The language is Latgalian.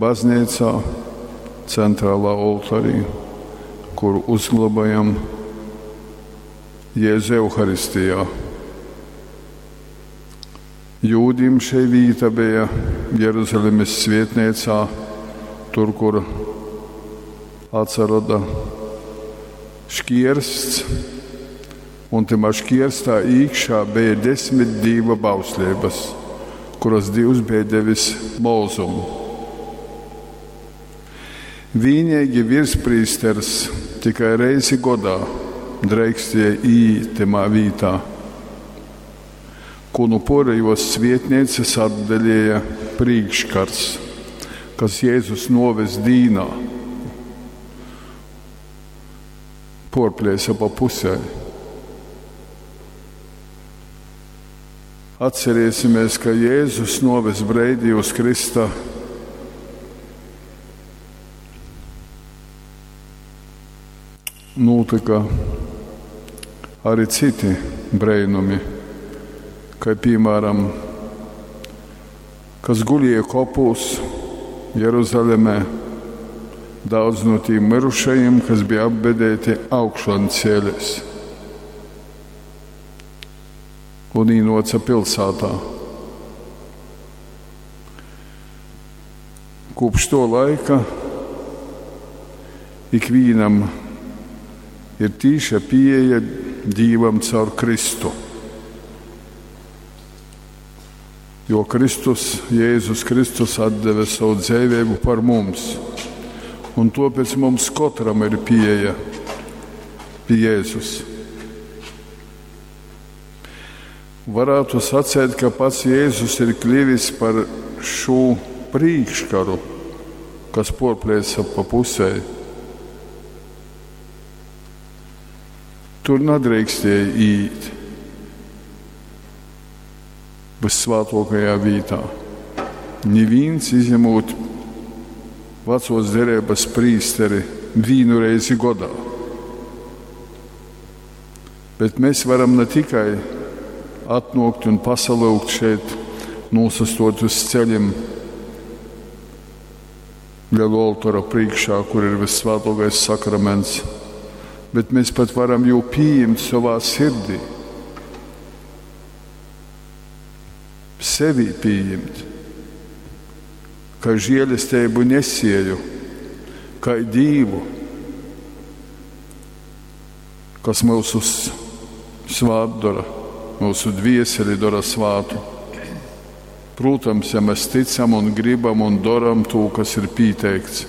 bazneicā, centralā oltorī, kur uzglobojam Jēzu Euharistijā. Jūdim šei vīta beja Jeruzalemes svietneicā, tur, kur atsaroda škiersts, un tymā škierstā īkšā beja 10 Dīva bausleibas, kuras Dīvs beja devis Mozum. Vīneigi virsprīsters tikai reizi godā dreikstēja īīt tymā vītā, ko nu porejos svietneicas atdalēja prīkškars, kas Jēzus nuoves dīnā porplēsa pa pusē. Atcerēsimies, ka Jēzus nuoves breidī uz Krista nūtyka arī citi breinumi, kai piemēram, kas gulēja kopūs Jeruzalemē, daudz no tīm mirušajiem, kas bija apbedēti augšan cēlēs un īnoca pilsētā. Kopš to laika ikvienam ir tīša pieeja Dievam caur Kristu. Jo Kristus, Jēzus Kristus atdeva savu dzīvību par mums, un tāpēc mums katram ir pieeja pie Jēzus. Varētu sacēt, ka pats Jēzus ir kļuvis par šo prīkškaru, kas porplēsa pa pusē. Tur nedrīkstēja iet vissvētākajā vietā. Neviens izņemot vecos derības prīsteri vienu reizi godā. Bet mēs varam ne tikai atnokt un pasalūgt šeit, nosastot uz ceļiem lielu oltora priekšā, kur ir vissvētākais sakraments, bet mēs pat varam jū pieņemt savā sirdī. Sevi pieņemt, kā žēlestību nesēju, kā Dievu, kas mūsu svāt dara, mūsu dvieseli dara svātu. Protams, ja mēs ticam un gribam un daram to, kas ir pieteikts.